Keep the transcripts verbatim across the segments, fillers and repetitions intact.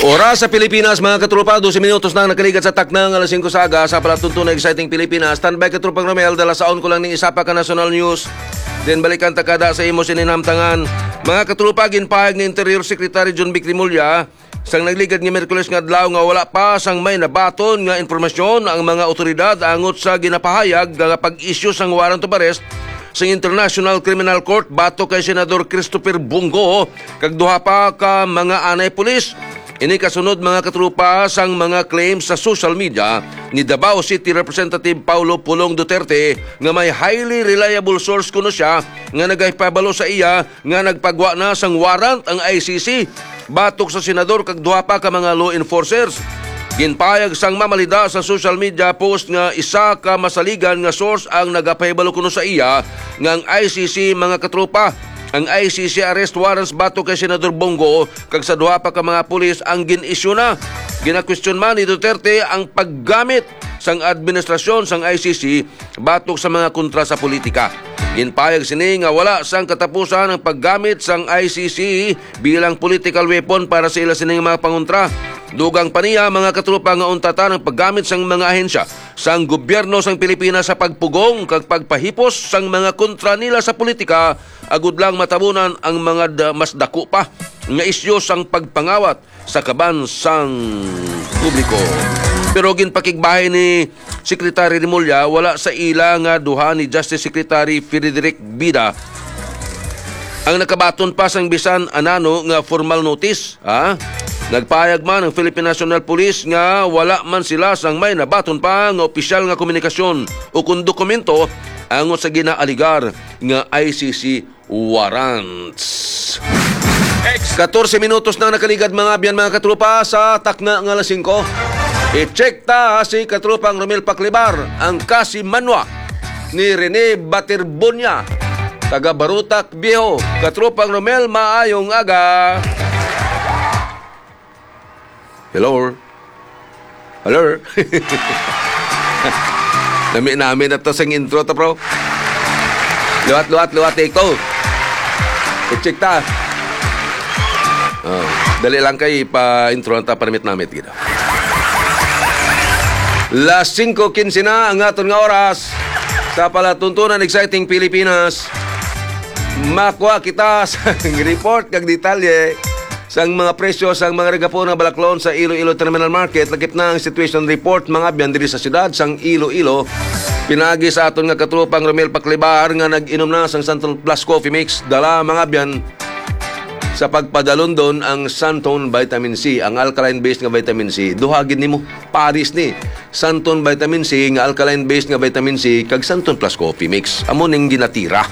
Oras sa Pilipinas, mga katropa, dose minutos na ang nakaligat sa takna nga alas singko sa aga. Sa palatuntunan exciting Pilipinas, standby, katropang Romel, dala saon ko lang ning isa pa ka national news. Then balikan ta kada sa imo sininamtangan. Mga katropa, ginpahayag ni Interior Secretary John Vic Remulla sang nagligad nga Miyerkules nga adlaw nga wala pa sang may nabaton nga impormasyon ang mga otoridad angot sa ginapahayag nga pag-issue sang warrant of arrest sang International Criminal Court batok kay Senador Christopher Bong Go kag duha pa ka mga anay pulis. Ini kasunod, mga katropa, sang mga claims sa social media ni Davao City Representative Paulo Pulong Duterte nga may highly reliable source kuno siya nga nagahipabalo sa iya nga nagpagwa na sang warrant ang I C C batok sa senador kag duha pa ka mga law enforcers. Ginpahayag sang mamalida sa social media post nga isa ka masaligan nga source ang nagapahibalo kuno sa iya nga ang I C C, mga katropa, ang I C C arrest warrants batok kay Senador Bong Go kag sa duha pa ka mga pulis ang gin-issue na. Ginakwestiyon man ni Duterte ang paggamit sang administrasyon sang I C C batok sa mga kontra sa politika. Ginpahayag sini nga wala sang katapusan ang paggamit sang I C C bilang political weapon para sa ila sining mga pangontra. Dugang pa niya, mga katropa, nga untatan ang paggamit sang mga ahensya sang gobyerno sang Pilipinas sa pagpugong kag pagpahipos sang mga kontra nila sa politika, agud lang matabunan ang mga da-, mas dako pa nga isyu sang pagpangawat sa kaban sang publiko. Pero ginpakigbahay ni Secretary Remulla, wala sa ila nga duha ni Justice Secretary Frederick Bida ang nakabaton pa sang bisan anano nga formal notice, ha? Nagpahayag man ang Philippine National Police nga wala man sila sang may nabaton pa nga opisyal nga komunikasyon o kon dokumento angot sa ginaaligar nga I C C warrants. Katorse minutos na nakaligad, mga abyan, mga katropa, sa takna nga alas singko. I-check ta si katropang Romel Paklibar, ang kasimanwa ni Rene Baterbonia, taga Barutak Viejo. Katropang Romel, maayong aga. Hello? Hello? Nami-nami na to sing intro to, bro. Luwat, luwat, luwat, take two. I-check ta. Oh, dali lang kay pa-intro ta, permit namit gid. Las singko quince na ang aton nga oras sa palatuntunan exciting Pilipinas. Makuha kita sa report kag detalye sang mga presyo sang mga ragapon nga balaklon sa Iloilo Terminal Market. Lakip na ang situation report, mga abyan, diri sa siyudad sang Iloilo. Pinaagi sa aton nga katropang Romel Paklibar nga nag-inom na sang Santon Plus Coffee Mix, dala, mga abyan, sa pagpadalundon ang Santon Vitamin C, ang alkaline-based nga vitamin C. Duha gid nimo, paris ni. Santon Vitamin C nga alkaline-based nga vitamin C kag Santon Plus Coffee Mix. Amo ning ginatira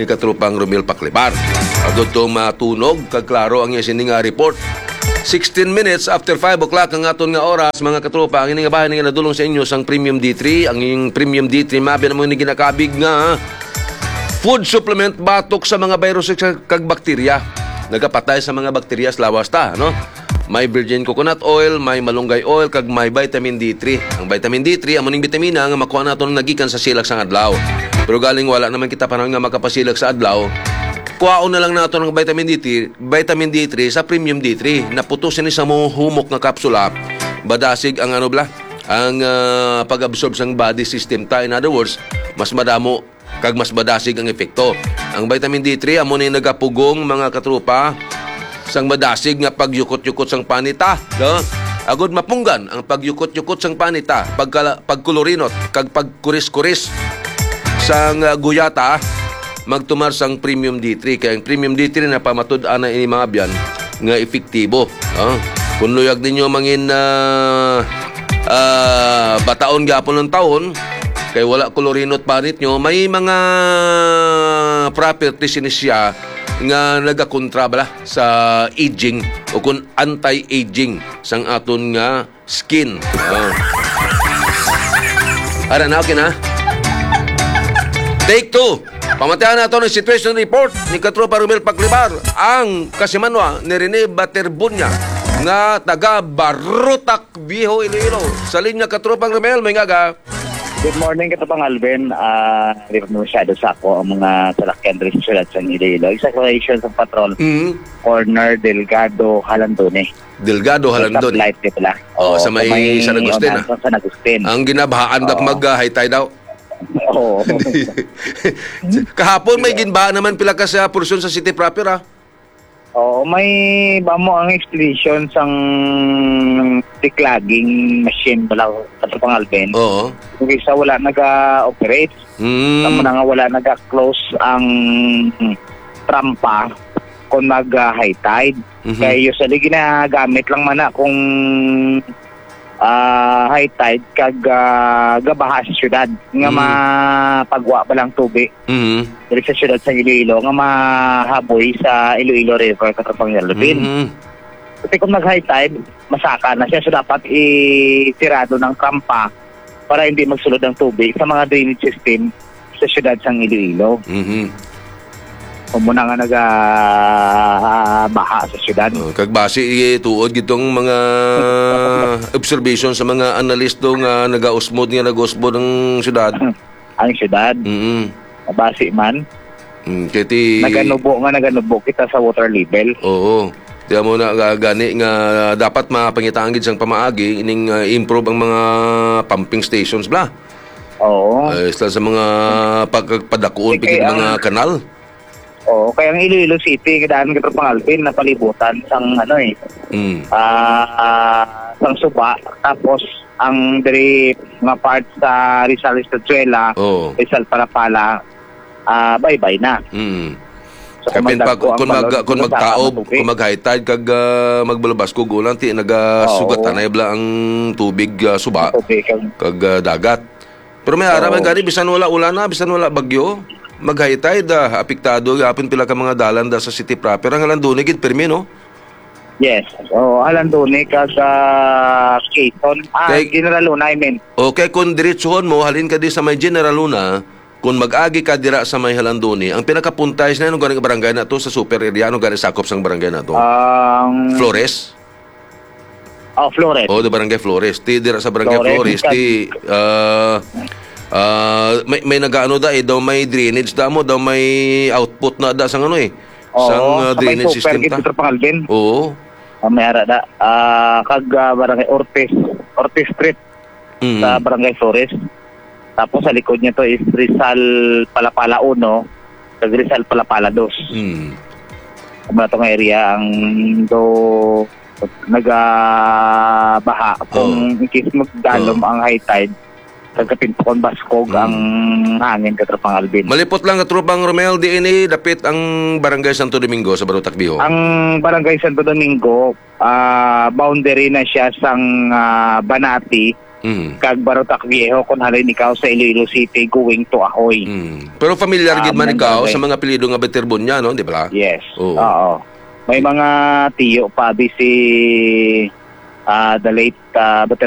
ni katropang Romel Paklibar. Agud to matunog kag klaro ang iya sini nga report. Sixteen minutes after five o'clock ang aton nga oras, mga katropa. Ang ini nga bahin nga nadulong sa inyo sang Premium D three. Ang iyong Premium D three, mabi na mo ni ginakabig nga food supplement batok sa mga virus kag bakterya. Nagapatay sa mga bakterya sa lawas ta, no? May virgin coconut oil, may malunggay oil, kag may vitamin D three. Ang vitamin D three, amo ning bitamina nga makuha naton nagikan sa silak sang adlaw. Pero galing wala naman kita panahon nga makapasilak sa adlaw, kuhaon na lang naton ang vitamin D three, vitamin D three sa Premium D three. Naputos ini sa mo humok nga kapsula. Badasig ang ano bla, ang ah, pag-absorb sang body system ta. In other words, mas madamo kag mas madasig ang epekto. Ang vitamin D three amo ni nagapugong, mga katropa, sang madasig nga pagyukot-yukot sang panita, no? Agud mapunggan ang pagyukot-yukot sang panita, pagkala-, pagkulurinot kag pagkuris-kuris sang ah, guyata, magtumar sang Premium D three. Kay ang Premium D three na pamatud-an na ini, mga abyan, nga epektibo. Ah, kung luyag ninyo mangin ah, ah, bataon gyapon ng taon, kay wala kolorinot panit nyo, may mga properties ini siya nga nagakontra bala sa aging o kung anti-aging sang aton nga skin. Ah. Ara na, okay na. Take two. Pamatihan nato ang situation report ni Katropa Romel Pagribar, ang kasimanwa ni Rene Baterbunya nga taga Barutak, Viejo, Iloilo. Sa linya, Katropang Romel, may ngaga. Good morning, Katapang Alvin. Ah, di pa masyado sa ako ang mga salakyan diri sa siyudad sa Iloilo. Isa ka station sa patrol, Mm. corner Delgado, Halandone. Delgado, May Halandone. stoplight, di pala? Oh, Oo, sa may may San Agustin, unahan ah. sa San Agustin. Ang ginabahaan dak Oo. mag, ah, high tide daw. Oo. Kahapon may Sige. ginbaha naman pila ka sa porsyon sa city proper, ah. Oo, may bamo ang explanation sang declogging machine pala, Katapang Alvin. Oo. Yung isa wala naga-operate. Mm. Tama na nga wala naga-close ang trampa kung mag, ah, high tide. Mhm. Kaya usually ginagamit lang man na kung, ah, high tide kag, ah, gabaha sa syudad nga Mm. mapagwa ba lang tubi Mhm. diri sa syudad sa Iloilo nga mahaboy sa Iloilo River, Katapang Alvin. Mhm. Kasi kung nag-high tide, masaka na siya. So, dapat itirado ng trampa para hindi magsulod ang tubig sa mga drainage system sa siyudad sang Iloilo. Mhm. Kung muna nga naga, ah, baha sa siyudad. Oh, kag basi, eh, tuod gitong mga observation sa mga analisto nga nagausmod, nga nagausmod ang siyudad. Ang siyudad. Mm. Mabasi man. Mm, kay ti Naganubo nga naganubo kita sa water level. Oo. Tiyan mo na, ga-, gani nga dapat mapangitaan gid sang pamaagi ining, ah, improve ang mga pumping stations bla. Oo. Ay, sa, sa mga pagpadakuon Eh, pigid kaya mga ang kanal. Oo, kaya ang Iloilo City, kadaan, Katapang Alvin, napalibutan sang, ano, eh, Mm. ah, sang suba. Tapos, ang diri nga part sa Rizal Estanzuela, Oo. Rizal Palapala, ah, baybay na. Mm. So, Kaya kung pin-, pag-, magdagko ang kung mag-, balon, kung magtaob, matubig. kung mag-high tide, kag, ah, magbalabas kog ulan, ti nagasugat Oo. tanay bala ang tubig, ah, suba, Tubig, kag kag, ah, dagat. Pero may ara man Oo. gani, bisan wala ulan na, bisan wala bagyo, mag-high tide, ah, apektado gihapon pila ka mga dalan da sa city proper. Ang Halandoni gid pirmi, no? Yes. Oo, Halandoni kag, ah, Quezon. Ah, Kay General Luna, I mean. Okay, kung diretsuhon mo, halin ka di sa may General Luna, kung mag-agi ka dira sa may Halandoni, ang pinakapunta is na, ano gani barangay na to sa super area? Ano gani sakop sang barangay na to? Ang Flores? Oh, Flores. Oh, the Barangay Flores. Ti dira sa Barangay Flores, Flores, kag ti, ah, ah, may, may nagaano da, eh, daw may drainage da mo, daw may output na da sang ano, eh, Oo, sang, ah, sa may drainage super system gid, ta. Katapang Alvin. Oo. Ah, may ara da. Ah, kag, ah, Barangay Ortiz, Ortiz Street Mm. sa Barangay Flores. Tapos sa likod niya to is Rizal Palapala uno, kag Rizal Palapala dos. Mm. Amo na tong area ang do nagabaha kung Oo. in case magdalom Oo. ang high tide, kag kapin pa kung baskog Mm. ang hangin, Katapang Alvin. Malipot lang, Katropang Romel, diin ni dapit ang Barangay Santo Domingo sa Barotac Viejo? Ang Barangay Santo Domingo, ah, boundary na siya sang, ah, Banati Mm. kag Barotac Viejo, kung halin ikaw sa Iloilo City going to Ahoy. Mm. Pero familiar Ah, gid man ikaw sa mga apelyido nga Baterbonia, no? Di ba? Yes. Oo. Oo. May mga tiyo pa, di si, ah, the late, ah, Bater